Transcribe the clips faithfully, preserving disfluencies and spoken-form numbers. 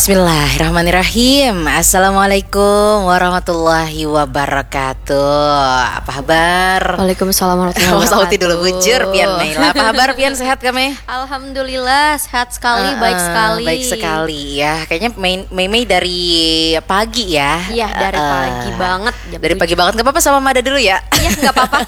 Bismillahirrahmanirrahim. Assalamualaikum warahmatullahi wabarakatuh. Apa habar? Waalaikumsalam warahmatullahi Oh, wabarakatuh. Sauti dulu, bujur pian, Mei lah. Apa habar pian, sehat kah, Mei? Alhamdulillah, sehat sekali, Eh, baik eh, sekali. Baik sekali ya. Kayaknya Mei, Mei, Mei dari pagi ya. Iya, dari Eh, pagi banget, jam Dari tujuh. Pagi banget, nggak apa-apa, sama Mada dulu ya. Iya, nggak apa-apa.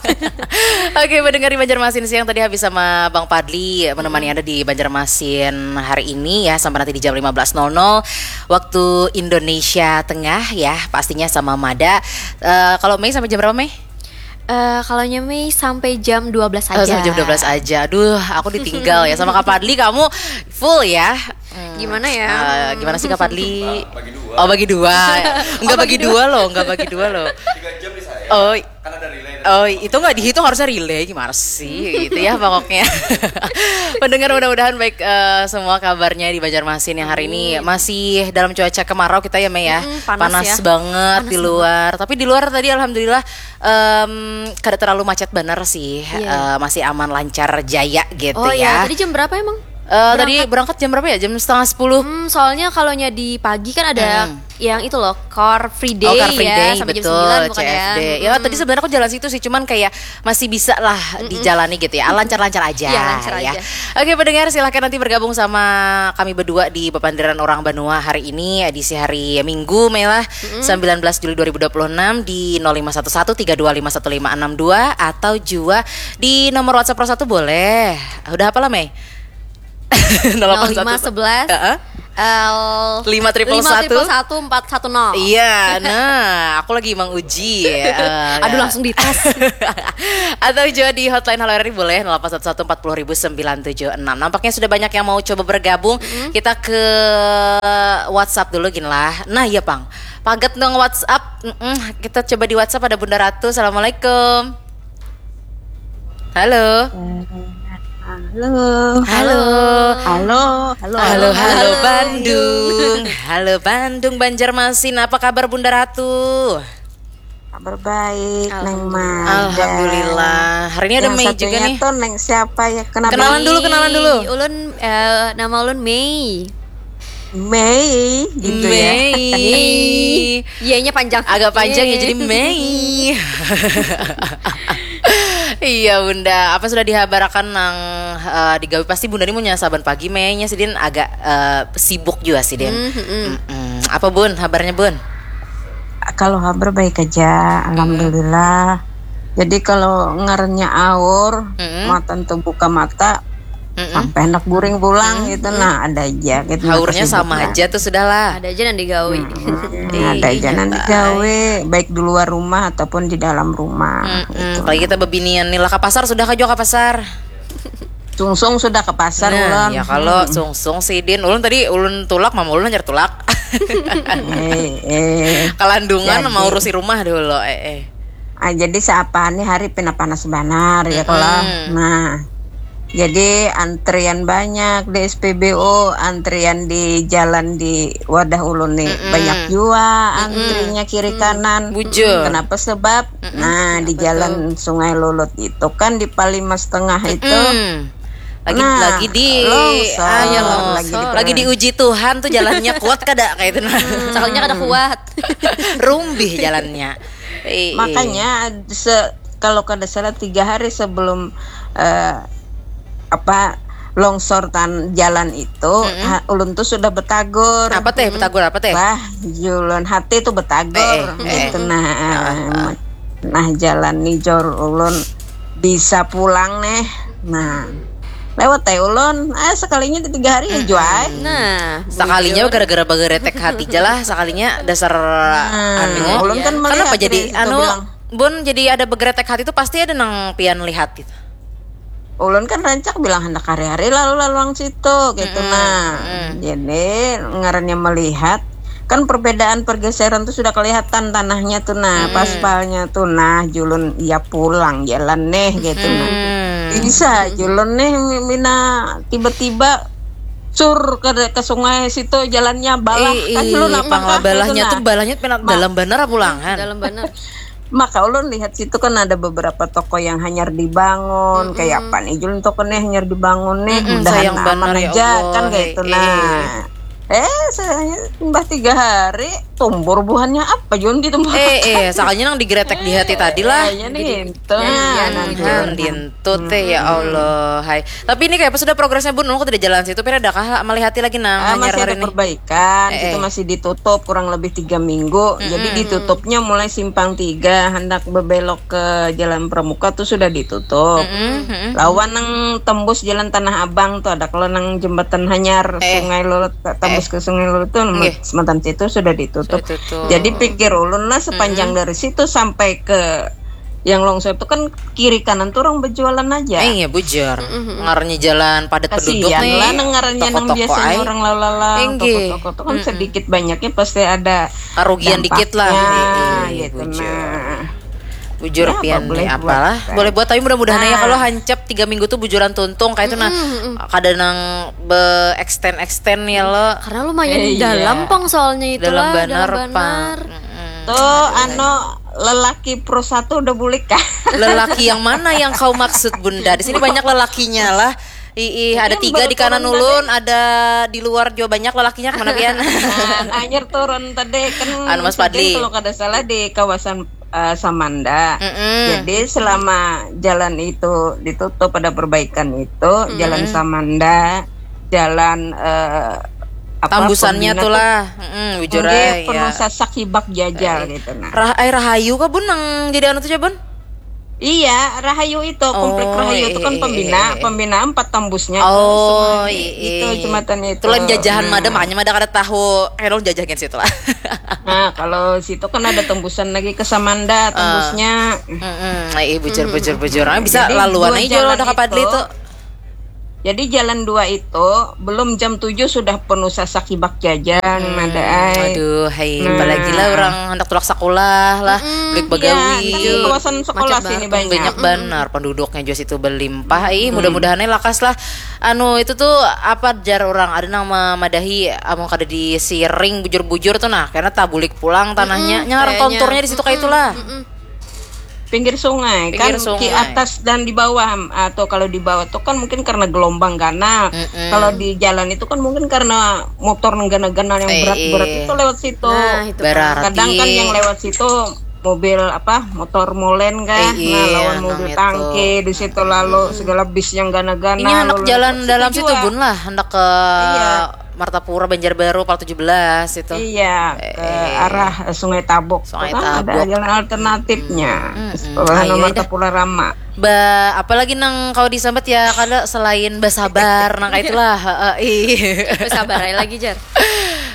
Oke, pendengar di Banjarmasin siang tadi habis sama Bang Padli menemani Anda di Banjarmasin hari ini ya, sampai nanti di jam lima belas nol nol waktu Indonesia Tengah ya, pastinya sama Mada. Eh, kalau Mei sampai jam berapa, Mei? Eh, kalau nya Mei sampai jam dua belas Oh, aja. sampai jam dua belas aja. Aduh, aku ditinggal ya sama Kak Padli, kamu full ya. Hmm. Gimana ya? Eh, gimana sih, Kak Padli? Oh, bagi dua. Enggak bagi dua loh, enggak bagi dua loh. Oh, oh, itu nggak dihitung, harusnya relay, gimana sih gitu ya pokoknya. Pendengar, mudah-mudahan baik eh, semua kabarnya di Banjarmasin yang hari ini masih dalam cuaca kemarau kita ya, Mei ya. Mm-mm, panas ya. Banget Panas di luar. Tapi di luar tadi alhamdulillah em, kada terlalu macet bener sih. Iya. Eh, masih aman, lancar jaya gitu Oh ya. Iya, tadi jam berapa emang? Eh, tadi berangkat jam berapa ya? Jam setengah sepuluh. Hmm, soalnya kalau nya di pagi kan ada yang itu loh, Car Free Day, Oh, Car Free ya, Day, sampai betul, jam sembilan bukan C F D. Ya? Ya, tadi sebenarnya aku jalan situ sih, cuman kayak masih bisa lah dijalani gitu ya, lancar-lancar aja. Iya, lancar Ya. Aja. Oke, pendengar, silahkan nanti bergabung sama kami berdua di Papanderan Orang Banua hari ini, edisi hari Minggu, Mei lah, sembilan belas Juli dua ribu dua puluh enam, di nol lima satu satu tiga dua lima satu lima enam dua, atau juga di nomor WhatsApp Pro satu boleh. Udah apa lah, Mei? Nol lima sebelas. Heeh. L Lima triple satu. Empat satu nol. Iya, nah, aku lagi menguji. Eh, Aduh, langsung dites. Atau juga di hotline Halo R R I boleh, nol delapan satu satu empat puluh ribu sembilan tujuh enam. Nampaknya sudah banyak yang mau coba bergabung. Kita ke WhatsApp dulu gin lah. Nah, iya pang. Pagat nang WhatsApp. Mm-mm. Kita coba di WhatsApp, ada Bunda Ratu. Assalamualaikum. Halo. Halo. Halo. Halo, halo. Halo, halo Bandung. Halo Bandung, Banjarmasin. Apa kabar, Bunda Ratu? Kabar baik, Neng Mada. Alhamdulillah. Hari ini ada Yang Mei juga satunya nih. Tuh Neng siapa ya? Kenapa? Kenalan dulu, kenalan dulu. Ulun, eh, nama ulun Mei. Mei gitu ya. Mei. Iya-nya panjang. Agak panjang ya, Iya. Jadi Mei. Iya, Bunda. Apa sudah dihabarakan nang eh, digawi? Pasti Bunda ini punya saban pagi, Mei nya sidin agak eh, sibuk juga sidin. Hmm, hmm. Mm-mm. Apa, Bun? Habarnya, Bun? Kalau habar baik aja, alhamdulillah. Jadi kalau ngarannya aur, Mm-mm. matan tuh buka mata, Mm-mm. sampai hendak guring pulang gitu, nah ada aja gitu. Haurnya Nah, sama kesibukan. Aja tuh, sudahlah. Ada aja nang digawi. Hmm, ada aja nang digawe, baik di luar rumah ataupun di dalam rumah. Mm-mm. Apalagi kita bebinian nih lah, ke pasar sudah kah juga, ke pasar? Sungsung sudah ke pasar, Nah, ulun. Ya kalau sungsung sidin, ulun tadi ulun tulak, mama ulun hanyar tulak. Eh, eh. Kalandungan Jadi- mau urusi rumah dulu, eh eh. Ah, jadi siapa nih hari pina panas banar ya kalau. Nah, jadi antrian banyak di S P B U, antrian di jalan di wadah ulun nih banyak jua antrinya kiri kanan. Bujur. Kenapa sebab? Nah, di jalan Sungai Lulut itu kan di Palima Setengah itu. Hmm. Lagi Nah, lagi di longsor, anu, lagi di- lagi diuji Tuhan tuh jalannya kuat kada kayak itu, nah. Sekalinya kada kuat. Rumbih jalannya. Ih, ih. Makanya se kalau kada salah tiga hari sebelum eh, apa longsor tan jalan itu, ha- ulun tuh sudah betagur. Apa teh? Betagur apa teh? Wah, julun hati tuh betagur Eh, eh, eh. Gitu. Nah, nah, jalan nih jor ulun bisa pulang nih. Nah, lewat teh ulun, ah, sekalinya di tiga hari ya juai. Nah, Sekalinya gara-gara bageretek hati aja lah, sekalinya dasar anu. Ulun kan Kenapa melihat jadi nih, itu anu? bilang. Bun, jadi ada begeretek hati itu pasti ada nang pian lihat gitu. Ulun kan rancak bilang hendak hari-hari lalu laluang situ gitu. Nah, jadi ngarannya melihat kan perbedaan pergeseran tuh sudah kelihatan tanahnya tuh, nah, paspalnya tuh, nah, julun ya pulang jalan nih gitu, nah. Bisa julun nih mina tiba-tiba sur ke ke sungai situ jalannya balah. Ih, Kan ih, julun apa pang lah, balahnya gitu, tuh nah. Balahnya pina dalam banar apa ulangan? Dalam banar. Maka ulun lihat situ kan ada beberapa toko yang hanyar dibangun, kayak apa nih julun toko nih hanyar dibangun nih, Mm-mm, mudahan sayang aman banar, ya aja Allah, kan kayak eh, itu. eh. Nah, Eh, saya mbah tiga hari tumbur buhannya apa Jon di tempat. Eh, eh, sakalinya nang digretek di hati tadi lah. Kayaknya nih itu. Hmm, dintu teh ya Allah. Hai. Tapi ini kayak apa sudah progresnya Bun? Aku tidak jalan situ. Pira adakah melihati lagi nang Ah, hanyar masih hari ada ini? Perbaikan, Eh, itu eh. Masih ditutup kurang lebih tiga minggu. Jadi ditutupnya mulai simpang tiga, hendak berbelok ke Jalan Pramuka tuh sudah ditutup. Mm-mm, mm-mm. Lawan nang tembus Jalan Tanah Abang tuh ada kalau nang jembatan hanyar Eh. Sungai Lulut, tembus ke Sungai Lulut tuh Nggih. Sementan situ sudah ditutup. Sudah tutup. Jadi pikir ulun lah sepanjang dari situ sampai ke yang longsor itu kan kiri kanan tuh orang berjualan aja. Eh, iya bujur. Ngarannya jalan padat penduduk Kasihan nih. Lah nang ngarannya nang Toko-toko biasanya ai. orang lalu-lalu Inggih. Toko-toko tuh kan sedikit banyaknya pasti ada Karugian dikit lah. dampaknya, Eh, eh, gitu bujur. Nah. Bujur Ya, apa pian boleh nih buat, apalah. kan? Boleh buat tapi mudah-mudahan ya Nah. Kalau hancap tiga minggu tuh bujuran tuntung kayak itu nah. Kada nang be extend extend ya lo. Karena lumayan Eh, iya. dalam pang soalnya itu Dalam lah, banar dalam pang. banar. Tuh anu lelaki pro satu udah bulik kah? Lelaki yang mana yang kau maksud Bunda? Di sini banyak lelakinya lah. Ih, ada Yang tiga baru di kanan turun ulun, ada di luar juga banyak lelakinya kemana pian? Nah, hanyar turun tadi kan Anu, Mas Sujin Fadli. Kalau kada salah di kawasan eh, Samanda. Mm-mm. Jadi selama jalan itu ditutup ada perbaikan itu jalan Samanda, jalan eh, apa, Tambusannya pembina tuh tuh lah. Mm-mm, bujur Nggih, ai, penuh ya. Sasak Hibak Jajal gitu nah. Rah, eh, Rahayu kah Bun nang jadi anu tuh Bun? Iya, Rahayu itu komplek Oh, Rahayu itu kan iya, pembina, iya, iya. Pembina empat tembusnya Oh, ke sungai iya. Itu jembatan itu. Itu lain jajahan Nah. Mada, makanya Mada kada tahu. Kayak dong jajahin situ lah. Nah, kalau situ kan ada tembusan lagi ke Samanda, tembusnya. Mm-mm, eh, bujur, bujur, bujur. Ah, bisa Jadi, laluan dua aja lo jalan udah kapal itu, itu. Jadi jalan dua itu belum jam tujuh sudah penuh sasak hibak jajan, Mada ai. Aduh, hai, Nah. Apalagi lah orang hendak tulak sekolah lah, balik Iya, bagawi. Kan di kawasan sekolah Macet sini banget. banyak. Banyak banar penduduknya juga situ berlimpah. Ih, mudah-mudahan lakas lah. Anu itu tuh apa jar orang ada nang memadahi amun kada disiring bujur-bujur tuh nah karena tabulik pulang tanahnya. Nyaran kayaknya. Konturnya di situ kayak itulah. Pinggir sungai Pinggir kan di sungai. Atas dan di bawah atau kalau di bawah tuh kan mungkin karena gelombang ganal. Mm-mm. Kalau di jalan itu kan mungkin karena motor nang ganal-ganal yang Eh, berat-berat iya. Itu lewat situ. Nah, itu Berarti Kadang kan yang lewat situ mobil apa motor molen kan, Eh, nah iya, lawan nang mobil itu. Tangki di situ lalu segala bis yang gana-gana. Ini anak lalu jalan lewat situ dalam situ juga. Bun lah, hendak ke Iya. Martapura Banjarbaru Pal tujuh belas itu. Iya, ke Eh. Arah Sungai Tabok. Sungai Itu kan ada Tabok. Jalan alternatifnya. Mm-mm. Sekolah Ayo, nomor dah. Tapura Rama. Ba, apalagi nang kau disambat ya kada selain basabar nang kayak itulah. Heeh, ih. Sabar aja lagi jar.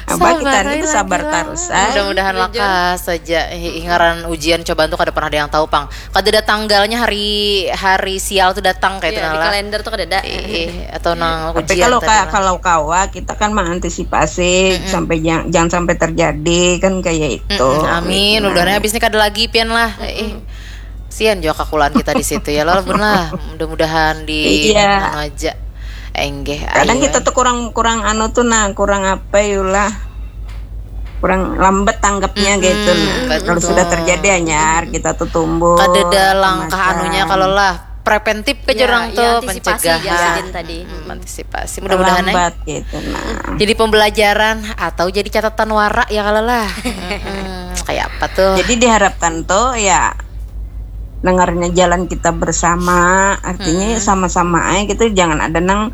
Apa kita Sabar ini aja sabar lagi lah. Terus ah. Mudah-mudahan Jujur. Lakas saja. Ih, ngaran ujian cobaan tuh kada pernah ada yang tahu pang. Kada ada tanggalnya hari hari sial tuh datang kayak itu Ya, di lah. Kalender tuh kada ada. Ih, atau nang Tapi ujian kalau tadi ka, lah. Kalau kawa kita kan mengantisipasi sampai jangan, jangan sampai terjadi kan kayak itu. Mm-mm, amin. Mudah-mudahan habis ini kada lagi pian lah. Eh, sian juga kakulaan kita di situ ya. Lalu lah. Mudah-mudahan di Iya. anu aja. Enggih. Kadang Ayo. Kita tuh kurang kurang anu tuh nah kurang apa yulah kurang lambat tanggapnya gitu nah. Kalau sudah terjadi anyar kita tuh tumbuh. Kada ada langkah anunya kalau lah preventif ke Ya, orang ya, tuh antisipasi pencegahan. Jasin tadi. Hmm, antisipasi. Mudah-mudahan eh, Lambat gitu nah. Jadi pembelajaran atau jadi catatan wara ya kalau lah. Mm-mm, kayak apa tuh? Jadi diharapkan tuh ya dengarnya jalan kita bersama artinya sama-sama aja gitu jangan ada nang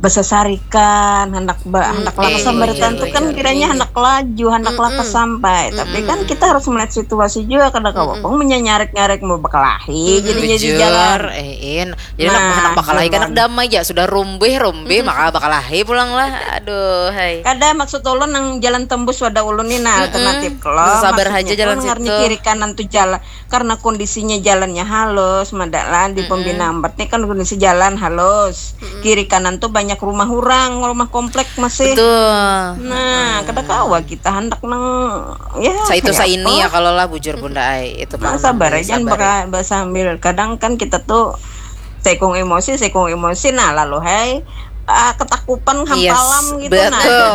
besesarikan hendak ba, hendak iya, lakas sampai iya, tentu iya, kan iya, kiranya hendak laju hendak lakas sampai tapi kan kita harus melihat situasi juga kada kawa pun menyanyarik-nyarik mau bakalahi jadi jadi Bujur, jalan eh, in. Jadi Nah, anak, anak bakalahi kan jalan. Anak damai ya sudah rumbih rumbih maka bakalahi pulang lah. Aduh, hai. Kada maksud ulun nang jalan tembus wadah ulun ni nah alternatif kalau Sabar maksudnya aja jalan tuh ngarni situ. Kiri kanan tuh jalan karena kondisinya jalannya halus madalan di pembina empat ni kan kondisi jalan halus kiri kanan tuh banyak rumah orang rumah komplek masih Betul. Nah kada kawa kita hendak nang ya Sa itu kayak sa ini apa? Ya kalau lah bujur bunda ai itu Nah, pang sabar nang aja sabar. Baka, sambil kadang kan kita tuh sekung emosi sekung emosi nah lalu hai ah, ketakupan Yes, hampalam gitu nah betul.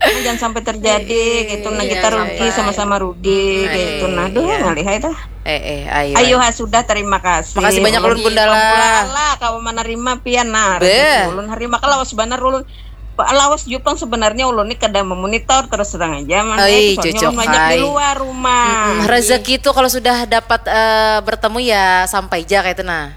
Nah, jangan sampai terjadi gitu nah Iya, kita rugi sampai. Sama-sama rugi gitu nah duh Iya. Ngalih hai dah Eh eh ayo. ayo ha sudah terima kasih Makasih banyak ulun, Bunda, lah. Lah kau menerima pian nah Beh. rezeki ulun hari maka lawas banar ulun Lawas jua pang sebenarnya ulun ni kada memonitor terus terang aja, Mang, ya. Oi, Soalnya cocok, ulun banyak di hai. luar rumah. Mm-mm. Rezeki tuh kalau sudah dapat eh, bertemu ya sampai aja kayak itu nah.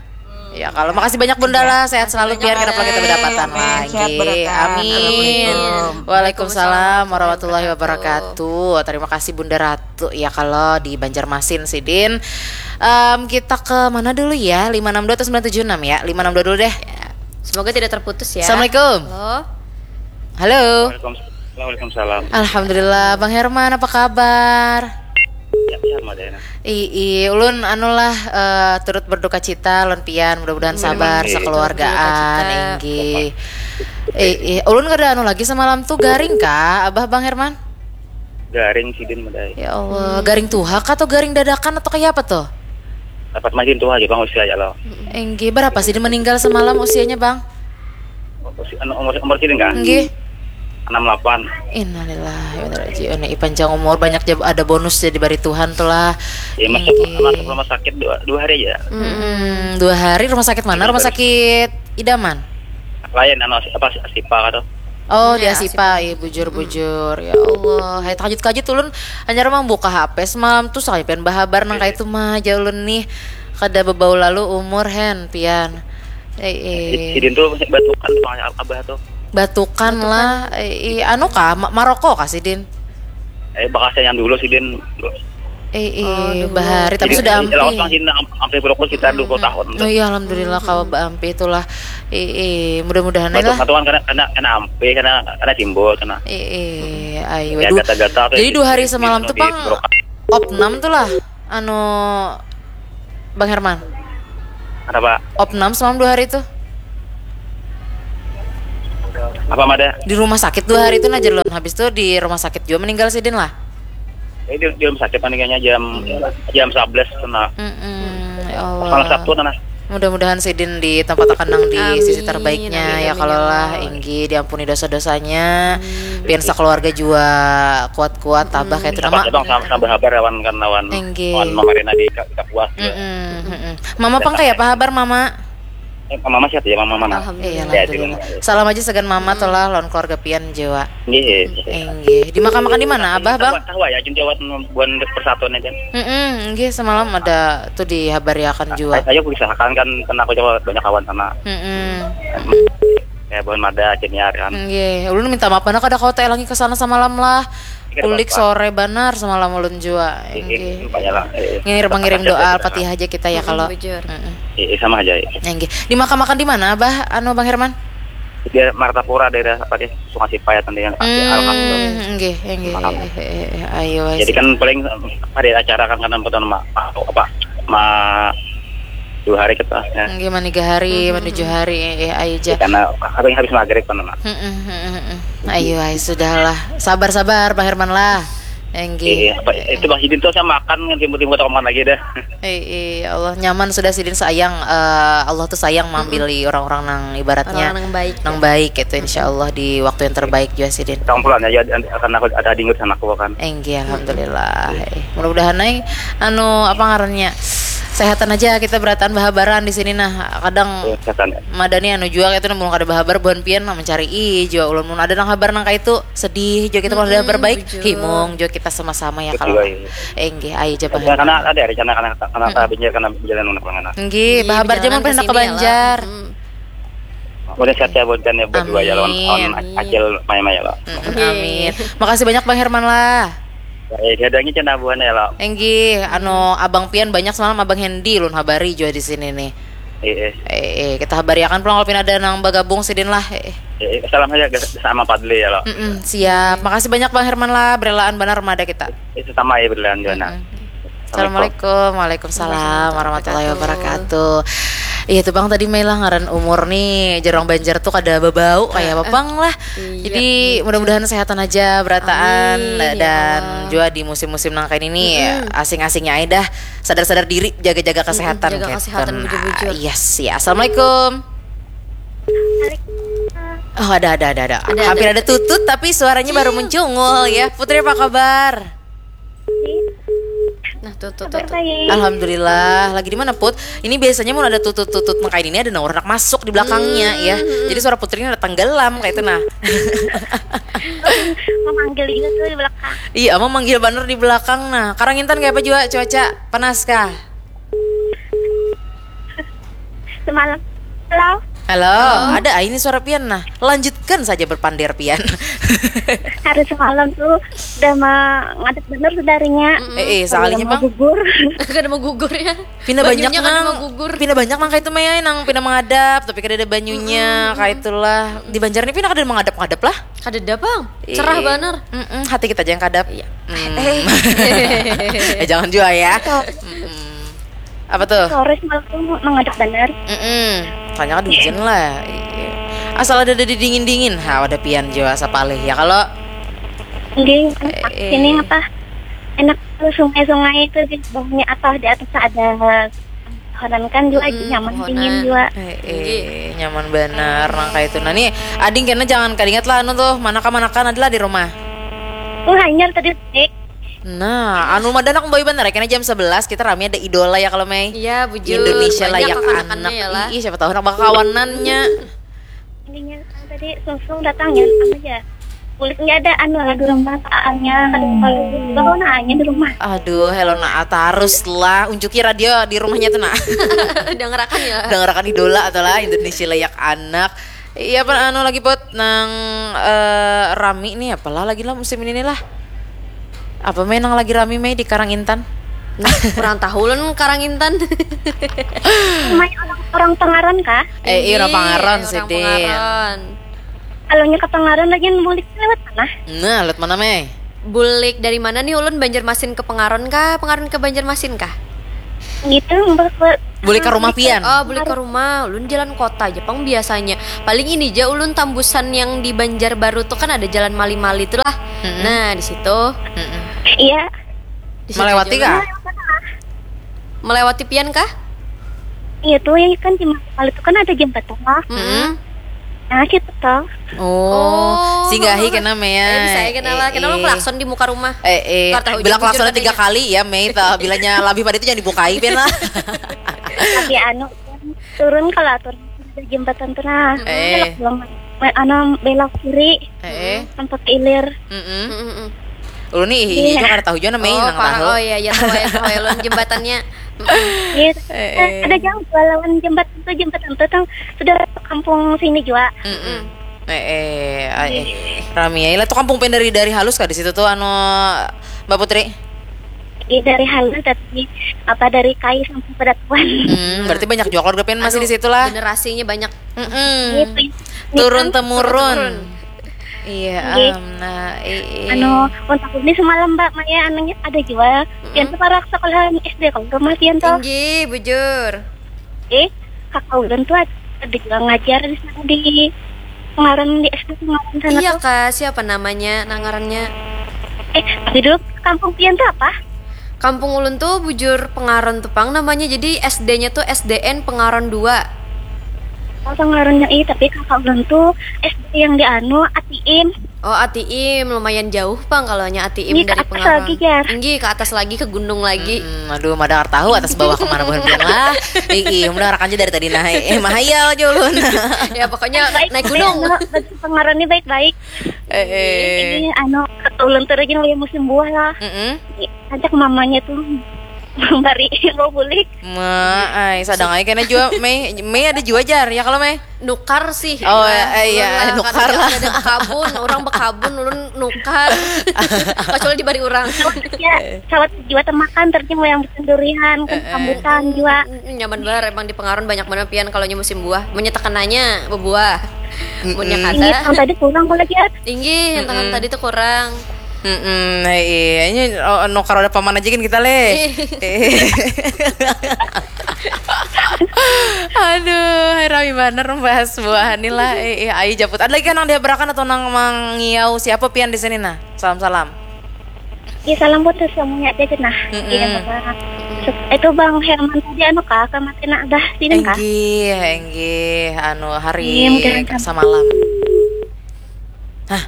Ya kalau makasih banyak Bunda lah, sehat selalu, biar kenapa kita berdapatan Amin. Sehat lagi. berkah. Amin. Assalamualaikum. Waalaikumsalam warahmatullahi wabarakatuh. Terima kasih Bunda Ratu ya kalau di Banjarmasin sidin. Em, kita ke mana dulu ya? Lima enam dua atau sembilan tujuh enam ya? Lima enam dua dulu deh. Semoga tidak terputus ya. Assalamualaikum. Halo. Halo. Waalaikumsalam. Waalaikumsalam. Alhamdulillah, Bang Herman, apa kabar? Ya, ya, Madena. Ii, ulun anulah eh, turut berduka cita lawan pian, mudah-mudahan sabar Iya. sekeluargaan. Berduka cita. Inggih. Ii, ulun kada anu lagi semalam tuh garing kah, Abah, Bang Herman? Garing sidin madai. Ya Allah, garing tuhak atau garing dadakan atau kayak apa tuh? Dapat makin tua aja bang usia ya lo. Inggih, berapa sih meninggal semalam usianya, Bang? Usia, anu, umur umur sidin kah? Inggih. Enam delapan. Innalillahi wa inna ilaihi raji'un. Ih, panjang umur, banyak jab- ada bonus jadi bari Tuhan tuh lah. Ya masuk Inggih. masuk rumah sakit dua, dua hari aja. Hmm, dua hari rumah sakit mana? Rumah sakit idaman. Lain anu apa Sipa kata. Oh, di Asipa, iya bujur-bujur. Ya Allah, hai terkajut-kajut ulun hanyar mang buka H P semalam tuh sampai pian bahabar nang kayak itu mah aja ulun nih. Kada bebau lalu umur hen pian. Eh, eh. Sidin tuh batukan tuh abah tuh. Batukan lah, eh, eh, anu kah, Ma- Maroko kah sidin? Eh bakasnya yang dulu sidin. Eh, eh, bahari tapi sudah Lawas bang ampih. Sidin am- ampe berokok sekitar dua puluh tahun. Oh iya, alhamdulillah kawa baampih itulah. Eh, eh, mudah-mudahan Batuk lah. Batuk kan kena kena kena ampe kena kena simbol kena. Eh, eh, ayo. Ya Aduh. gatal-gatal. Jadi dua hari semalam tuh pang opnam tuh lah, anu Bang Herman. Kenapa? Opnam semalam dua hari tuh. Apa mada? Di rumah sakit dua hari itu nah jalon. Habis itu di rumah sakit juga meninggal sidin lah. Ini di, di rumah sakit meninggalnya jam jam sebelas kena. Mm-mm, ya Allah. Malam Sabtu tanah. Mudah-mudahan sidin di tempat akan nang di sisi Amin, terbaiknya amin, ya amin, kalau ya lah Allah. Inggih diampuni dosa-dosanya. Pian sekeluarga juga kuat-kuat tabah kayak itu Dapat nama. bang sama sama habar lawan kan lawan Inggih. Lawan pemerintah di Ka- Kapuas juga. Mm-mm, mm-mm. Mama pang kayak apa habar mama? Eh, mama sehat ya mama mana? Alhamdulillah. Iya, Sehat alhamdulillah. juga. Salam aja segan mama tuh lah lawan keluarga pian jiwa. Iya. Inggih. Dimakam-makan di mana, Abah, Bang? Tahu ya, jin jawab buan persatuan aja. Mm-mm, inggih semalam ada tuh dihabariakan juga. Ayo usahakan kan karena aku coba banyak kawan sana. Mm-mm. Ya buan mada ceniar kan. Inggih, ulun minta maaf banar kada kawa taelangi ke sana semalam lah. Kada Ulik apa-apa. Sore banar semalam ulun jua. Iya, Inggih. Lumayan lah. Iya. Ngirim mengirim Tetap doa aja Al-Fatihah aja kita ya kalau. Bujur. Mm-mm. Iya sama aja. Iya. Inggih. Dimakam-makan di mana, Abah? Anu Bang Herman? Dia Martapura daerah apa dia? Sungai Sipaya tadi kan. Alhamdulillah. Hmm, inggih, inggih. Maaf. Eh, eh, eh, ayo wes. Jadi kan paling ada acara kan karena bukan ma apa ma dua hari kita ya. Inggih, mani tiga hari, mani tujuh hari, eh, eh, ayo Ya, aja. karena apa yang habis maghrib kan mak. Mm-mm, mm-mm, mm-mm. Ayo, ayo, sudahlah. Sabar-sabar, Bang Herman lah. Inggih. Iya, apa, itu Bang Sidin tuh saya makan yang timbul-timbul kota lagi dah. Eh, eh, ya Allah nyaman sudah sidin sayang. Eh, Allah tuh sayang mengambil orang-orang nang ibaratnya Orang-orang yang baik, nang ya. Baik itu insya Allah di waktu yang terbaik juga sidin. Tolong pulang ya, ya, karena aku ada dingin sama aku kan. Enggih, alhamdulillah. Eh, mudah-mudahan ai anu apa ngarannya sehatan aja kita berataan bahabaran di sini nah kadang Ya, kesehatan ya. Madani anu jua itu belum kada bahabar buhan pian nah mencari i jua ulun mun ada nang habar nang kaitu sedih jua kita kalau ada habar baik bujur. Himung jua kita sama-sama ya Betul, kalau iya. Enggih, ayo aja Ya, karena ada rencana karena karena binjar karena jalan untuk pengenan. Enggih, bahabar jaman pernah ke Banjar. Udah sehat ya buat kan ya berdua ya lawan lawan Acil Maima ya lo. Amin. Makasih banyak Bang Herman lah. Ya, dia ada cina buahnya ya lo. Enggih, anu abang pian banyak semalam abang Hendy ulun habari juga di sini nih. Eh, eh. Eh, eh, kita habari akan pulang kalau pina ada nang bagabung sidin lah. Eh, eh. Eh, salam aja sama Padli ya lo. Mm-mm, siap. Makasih banyak Bang Herman lah, berelaan banar mada kita. Itu sama ya berlawan juga nah. Assalamualaikum. Waalaikumsalam warahmatullahi wabarakatuh. Iya tuh Bang tadi Mela ngaran umur nih jarang Banjar tuh kada bebau kayak apa Bang lah. Jadi mudah-mudahan sehatan aja berataan Amin, ya dan Allah. Juga di musim-musim nang kayak ini asing-asingnya aja dah sadar-sadar diri jaga-jaga kesehatan. Jaga Gitu. kesehatan Nah, bujur-bujur. Yes ya. Assalamualaikum. Oh ada ada ada ada. Ada, Hampir ada. Ada tutut tapi suaranya baru mencungul ya. Putri apa kabar? Nah, tutut, tutut. Alhamdulillah. Lagi di mana, Put? Ini biasanya mun ada tutut-tutut nang kaini, ada nang urang handak masuk di belakangnya, ya. Jadi suara Putri ini ada tenggelam kayak itu, nah. Memanggil juga tuh di belakang. Iya, memanggil bener di belakang, nah. Karangintan kayak apa juga cuaca? Panas kah? Semalam. Halo. Halo, ada ai ini suara pian, nah. Lanjutkan saja berpander pian. Hari semalam tuh udah mengadap bener sebenarnya. Eh, eh, sekalinya, Bang. Gugur. Kada mau gugur, ya. Pina banyak nang, pina banyak nang kayak itu, Mei, nang pina mengadap tapi kada ada banyunya, kayak itulah. Di Banjar ini pina kada ada mengadap-ngadap lah. Kada ada, Bang. Cerah banar. Mm-mm, hati kita aja yang kadap. Iya. Eh, jangan juga ya. Mm-mm. Apa tuh? Sore semalam tuh mengadap bener. Mm-mm. Soalnya kan hujan lah. Iya. Asal ada, ada dingin-dingin. Ha, ada pian jua sapalih ya kalau. Dingin. Eh, sini apa? Enak tuh sungai-sungai itu di bawahnya apa, di atas ada pohonan kan juga, nyaman, dingin juga. Eh, eh, nyaman bener nang kayak itu. Nah, nih, ading kena jangan kadingat lah anu tuh, manakah-manakan adalah di rumah. Oh, hanyar tadi, Dek. Nah, anu madan aku bayi bener ya, kena jam sebelas kita rame ada idola ya kalau, Mei. Iya, bujur. Indonesia layak anak. Ih, siapa tahu anak bakawanannya. Intinya tadi sungsung datangnya apa aja. Kulitnya ada anu lah di rumah, aanya kan kalau bawa naanya di rumah. Aduh, Helona, tarus lah, unjuki radio di rumahnya tuh, nah. Dengerakan ya. Dengerakan idola atau lah Indonesia layak anak. Iya, apa anu lagi, Pot, nang eh, rami nih, apalah lagi lah musim ini nih lah. Apa, Mei, nang lagi rami, Mei, di Karang Intan? Nah, kurang tahu lun Karang Intan. Mai orang, orang Pangaran kah? Eh, iya, orang Pangaran sih, Ding. Kalau nya ke Pangaran lagi bulik lewat mana? Nah, lewat mana, Mei? Bulik dari mana nih ulun, Banjarmasin ke Pangaran kah? Pangaran ke Banjarmasin kah? Gitu, bulik ke rumah pian. Oh, bulik ke rumah. Ulun jalan kota aja pang biasanya. Paling ini aja ulun tambusan yang di Banjarbaru tuh kan ada jalan Mali-Mali tuh lah. Nah, di situ. Iya. Melewati kah? Melewati pian kah? Iya tuh, yang kan di Mali tuh kan ada jembatan lah. Nah, situ tuh. Oh, singgahi kena, Mei. Eh, bisa ya, kena lah. Kena lah klakson di muka rumah. Eh, eh. Bila klakson tiga kali ya, Mei, tuh. Bilanya lebih pada itu jangan dibukai pian lah. Tapi anu, turun kalau turun di jembatan tuh, nah. Eh. Belok, belok. Anu, belok kiri. Eh. Sampai ke ilir. Ulun nih, iya, juga kada tahu juga namanya, nang tahu. Oh iya, iya, tahu ya, tahu ya, lawan jembatannya. Iya. Ada jauh lawan jembatan tuh, jembatan tuh tang sudah kampung sini juga. Eh, eh, rami ya. Lah tuh kampung pian dari, dari halus kah di situ tuh, anu, Mbak Putri? Iya, dari halus, tapi apa, dari kayu sampai pedatuan. Hmm, berarti banyak juga keluarga pian masih di situ lah. Generasinya banyak. Turun temurun. Iya, am, nah, anu, untuk ini semalam, Mbak Maya, anaknya ada jua. Pian tuh parak sekolahan S D kalau rumah pian tuh. Tinggi, bujur. Eh, kakak ulun tuh ada, ada juga ngajar di sana di Pangaran, di S D Pangaran sana. Iya tuh. Kak, siapa namanya, nang ngarannya? Eh, tapi dulu kampung pian tuh apa? Kampung ulun tuh bujur Pangaran tuh pang namanya, jadi S D-nya tuh S D N Pangaran dua. Oh, Pangarannya, iya, tapi kakak ulun tuh S D yang di anu, A T M. Oh, A T M lumayan jauh pang kalau nya A T M dari Pangaran. Nggih, ke atas lagi, jar. Nggih, ke atas lagi, ke gunung lagi. Hmm, aduh, madangar tahu atas bawah kemana buhan pian lah. Ih, ih, mendengarkan aja dari tadi, nah, eh, mahayal aja ulun. Ya, pokoknya naik gunung. Baik, baik, anu, bagi Pangaran ini baik-baik. Eh, eh. Ini, anu, ulun tuh lagi nunggu musim buah lah. Mm-mm. Ajak mamanya tuh bari mau bulik. Ma, ai, sadang ai kena jua, Mei. Mei ada jua, jar, ya kalau, Mei? Nukar sih. Oh, iya, nukar lah. Kada, kada bekabun, orang bekabun, ulun nukar. Kecuali dibari orang. Ya, sawat jua temakan, terjadi yang bikin durian, kan, rambutan jua. Mm, nyaman banar, emang di Pangaran banyak banar pian kalau nya musim buah. Munnya tekenanya bebuah. Munnya kada. Ini yang tadi kurang kalau lagi. Inggih, yang tangan tadi tuh kurang. Mm-mm, nah, iya, ini, oh, nukar ada paman aja kan kita, leh. Aduh, hai, rami banar membahas buahan ni lah. Eh, eh, ayo japut. Ada lagi kan nang dihabarakan atau nang mangiau siapa pian di sini, nah? Salam-salam. Iya, salam buat semuanya aja, nah. Mm-mm. Iya, Bapak. Itu Bang Herman tadi, anu kah, kematian dah sini kah? Enggih, enggih, anu, hari samalam. Hah?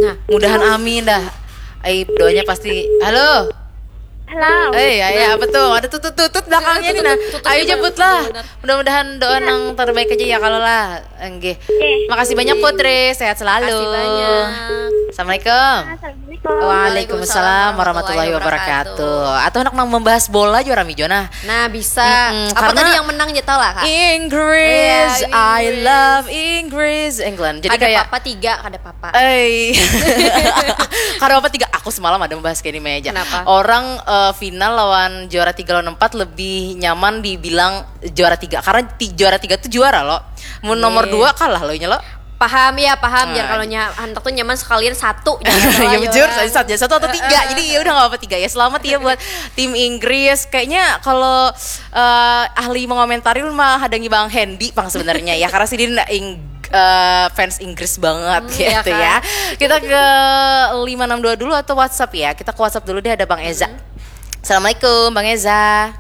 Nah, mudahan amin dah. Ai, doanya pasti. Halo. Halo. Eh, ya, ya, apa tuh? Ada tutut-tutut belakangnya nih, nah. Ayo jemput lah. Mudah-mudahan doa nang terbaik aja ya kalau lah. Enggih. Makasih banyak, Putri, sehat selalu. Makasih banyak. Assalamualaikum. Assalamualaikum. Waalaikumsalam warahmatullahi wabarakatuh. Atau anak nang membahas bola juga rami jua nah. Nah, bisa. Mm-mm, apa karena tadi yang menang aja tau lah, Kak? Inggris, iya, I Inggris. Love Inggris, England. Jadi ada kayak papa tiga, ada papa. Eh, karena apa tiga? Aku semalam ada membahas kayak ini aja. Kenapa? Orang eh, final lawan juara tiga lawan empat lebih nyaman dibilang juara tiga karena ti- juara tiga tuh juara loh. Mun nomor dua kalah loh nya lo. Paham ya, paham. Biar kalau nya handak tuh nyaman sekalian satu. Ya bujur, satu, satu atau tiga. Jadi ya udah nggak apa-apa tiga ya. Selamat ya buat tim Inggris. Kayaknya kalau eh, ahli mengomentari lu mah hadangi Bang Hendy pang sebenarnya ya karena sidin Ing- eh, fans Inggris banget gitu ya. Kita ke lima enam dua dulu atau WhatsApp ya. Kita ke WhatsApp dulu deh ada Bang Eza. Assalamualaikum Bang Eza.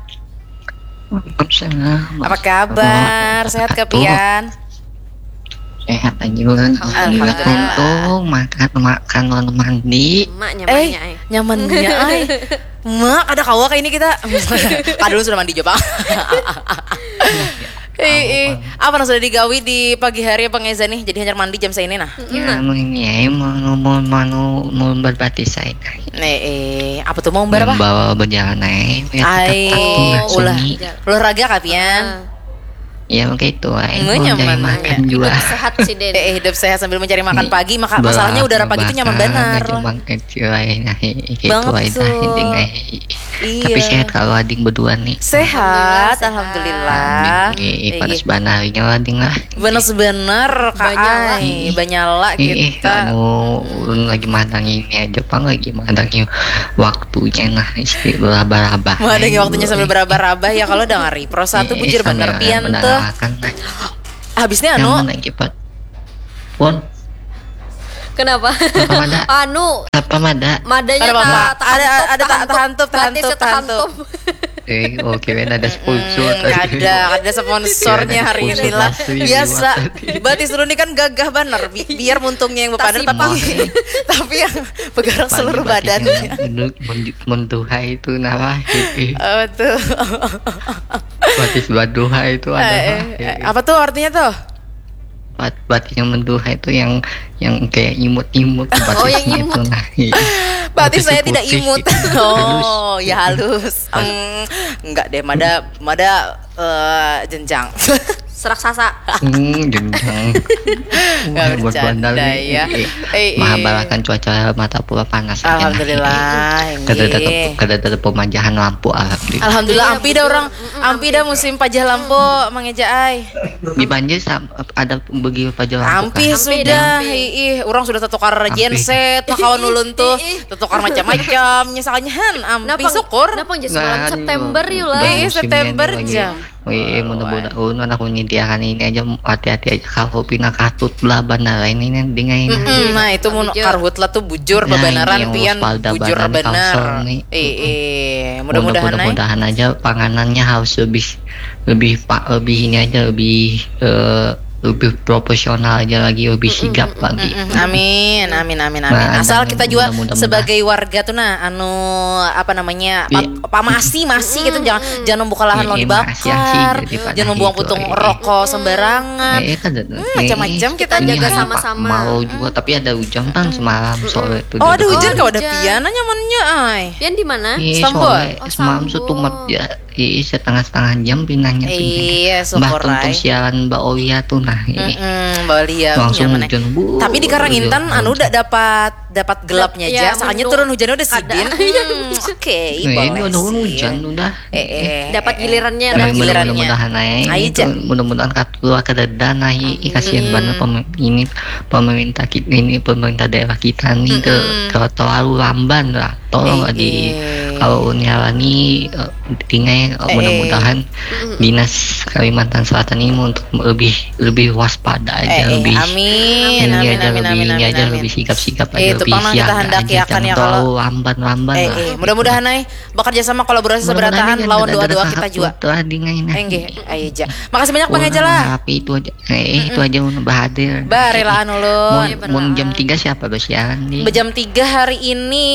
Waalaikumsalam. Apa kabar? Sehat ke pian? Sehat aja, Bang. Alhamdulillah. Untung makan makan lawan mandi. Mak nyamannya, eh, nyamannya, ay. Mak ada kawa kayak ini kita. Kadul sudah mandi coba. Eh, eh, apa nang sudah digawi di pagi hari Bang Eza nih? Jadi hanyar mandi jam saini nah. Ya, mau ini ya, mau mau mau mau berbatis saya. Eh, eh, apa tuh mau umbar apa? Membawa berjalan eh. Ay, ulah olahraga kah pian? Ya kayak itu ay. Mau nyaman makan juga. Hidup sehat sih deh. Eh, hidup sehat sambil mencari makan pagi. Maka masalahnya udara pagi itu nyaman benar. Cuma kecil ay nah. Kayak itu ay nah intinya. Iya. Tapi sehat kalau ading berdua nih. Sehat, alhamdulillah. Ih, panas banarnya ading lah. Bener sebener kak. Banyala. Banyala kita. Anu ulun lagi mahadangi ini aja pang lagi mahadangi waktunya nah istri berabah-rabah. Mahadangi waktunya sambil berabah-rabah ya kalau dengari pro satu bujur bener pian tuh. Habisnya anu. Pun. Kenapa? Anu. Apa mada? Madanya ada ada tak tahantup, tahantup, tahantup. Eh, oke, okay, ada sponsor. Hmm, ada, ada sponsornya hari ini lah. Biasa. Batis dulu ini kan gagah banget. Bi biar muntungnya yang berpada tapi tapi yang bergerak seluruh badan. Menduhai itu nama. Oh, tuh. Batis baduha itu ada. Eh, eh, apa tuh artinya tuh? Bat batis yang menduha itu yang yang kayak imut-imut oh, yang batisnya imut. Itu nah. Batis saya tidak imut. Gitu. Oh, halus. Ya halus. Hmm, enggak deh, mada mada uh, jenjang. Seraksasa. Hmm, jenjang. Enggak bercanda ya. Eh, eh. Mahabarakan cuaca mata pura panas. Alhamdulillah. Kada ada kada ada pemajahan lampu alhamdulillah. Alhamdulillah ampi dah orang. Ampi dah musim pajah lampu mangeja ai. Di Banjar ada bagi pajah lampu. Ampi sudah, ih, orang sudah tertukar genset, kawan ulun tuh tertukar macam-macam, misalnya han, ampi syukur. Kenapa semalam September yuk lah? Ih, September aja. Wih, mudah-mudahan ulun anak nyediakan ini aja hati-hati aja kalau pina katut lah bandara ini nih dengan ini. Nah, itu mun karhut lah tuh bujur bebenaran pian bujur benar. Eh, eh, mudah-mudahan aja panganannya harus lebih lebih pak lebih ini aja lebih eh, lebih profesional aja lagi lebih sigap lagi. Amin, amin, amin, amin. Nah, asal kita juga sebagai warga tuh nah anu apa namanya pamasi masi gitu jangan jangan membuka lahan lawan dibakar, jangan membuang putung rokok sembarangan. Macam-macam kita jaga sama-sama. Mau juga tapi ada hujan kan semalam sore tuh. Oh, ada hujan kau ada pian nyamannya ai. Pian di mana? Sambol. Semalam tuh ya. Ih, setengah-setengah jam pinahnya tuh. Iya, syukur. Mbah tuntung siaran Mbak Olia tuh nah. Heeh, Mbak Olia. Langsung hujan. Tapi di Karangintan anu udah dapat dapat gelapnya aja, soalnya turun hujannya udah sidin. Oke, ini udah hujan udah. Eh, eh, dapat gilirannya dah. Mudah-mudahan aja. Mudah-mudahan keluar ke dada nah, kasihan banget ini pemerintah kita ini pemerintah daerah kita nih terlalu lamban lah. Tolong di kalau Uni Alani eh, tinggal eh, mudah-mudahan dinas Kalimantan Selatan ini untuk lebih lebih waspada aja eh, lebih amin, ini amin, aja amin, lebih amin, ini amin, aja amin. Lebih sigap-sigap aja eh, lebih siap kita hendak aja, ya kan ya kalau lamban-lamban eh, lah. Eh, mudah-mudahan ay bekerja sama kolaborasi seberataan lawan doa-doa kita juga. Enggih, ayo aja. Makasih banyak Bang Eja lah. Tapi itu aja. Eh, itu aja mun bahadir. Barelaan ulun. Mun, mun jam tiga siapa basiaran nih? Jam tiga hari ini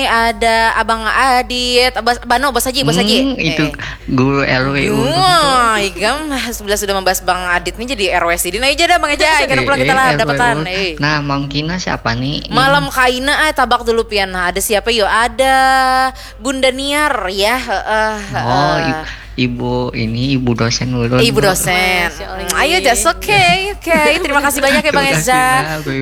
ada Abang Ad, Adit, Bas, Bano, Bos Haji, Bos Haji. Hmm, itu guru R W U. Wah, ikam sebelah sudah membahas Bang Adit nih jadi R W sidin. Ayo aja dah Bang Eja, karena pulang kita lah dapatan. Nah, Mang Kina siapa nih? Malam kaina ah, tabak dulu pian. Nah, ada siapa yo? Ada Bunda Niar ya. Heeh. Oh, i- ibu ini ibu dosen ulun. Ibu dosen. Ayo, just okay, okay. Terima kasih banyak ya Bang Eza.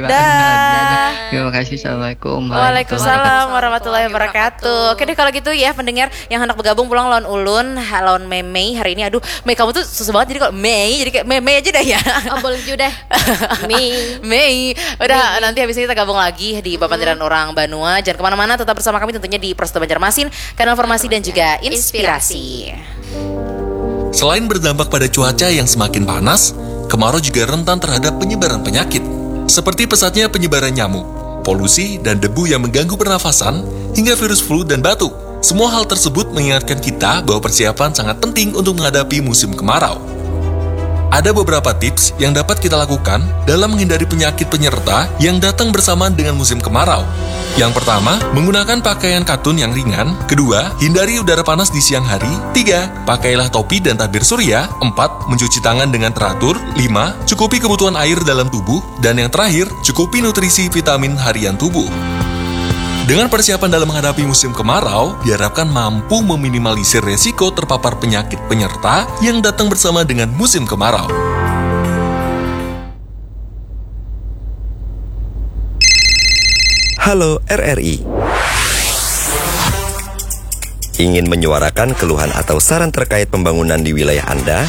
Dah. Terima kasih. Assalamualaikum. Waalaikumsalam warahmatullahi wabarakatuh. Oke deh, kalau gitu ya pendengar yang hendak bergabung pulang lawan ulun, ha- lawan Mei Mei hari ini. Aduh, Mei, kamu tuh susah banget, jadi kalau Mei jadi kayak Mei Mei aja dah ya. Oh, boleh juga deh. Mei. Mei. Udah, nanti habis ini kita gabung lagi di Bapantiran Orang Banua. Jangan kemana-mana, tetap bersama kami tentunya di Prosto Banjarmasin, kanal informasi dan juga inspirasi. Selain berdampak pada cuaca yang semakin panas, kemarau juga rentan terhadap penyebaran penyakit, seperti pesatnya penyebaran nyamuk, polusi, dan debu yang mengganggu pernafasan, hingga virus flu dan batuk. Semua hal tersebut mengingatkan kita bahwa persiapan sangat penting untuk menghadapi musim kemarau. Ada beberapa tips yang dapat kita lakukan dalam menghindari penyakit penyerta yang datang bersamaan dengan musim kemarau. Yang pertama, menggunakan pakaian katun yang ringan. Kedua, hindari udara panas di siang hari. Tiga, pakailah topi dan tabir surya. Empat, mencuci tangan dengan teratur. Lima, cukupi kebutuhan air dalam tubuh. Dan yang terakhir, cukupi nutrisi vitamin harian tubuh. Dengan persiapan dalam menghadapi musim kemarau, diharapkan mampu meminimalisir resiko terpapar penyakit penyerta yang datang bersama dengan musim kemarau. Halo R R I. Ingin menyuarakan keluhan atau saran terkait pembangunan di wilayah Anda?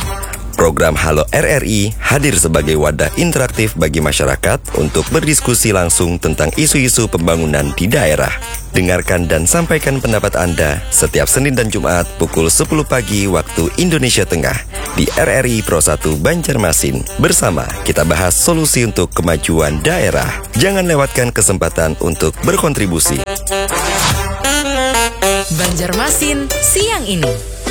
Program Halo R R I hadir sebagai wadah interaktif bagi masyarakat untuk berdiskusi langsung tentang isu-isu pembangunan di daerah. Dengarkan dan sampaikan pendapat Anda setiap Senin dan Jumat pukul sepuluh pagi waktu Indonesia Tengah di R R I Pro satu Banjarmasin. Bersama kita bahas solusi untuk kemajuan daerah. Jangan lewatkan kesempatan untuk berkontribusi. Banjarmasin siang ini.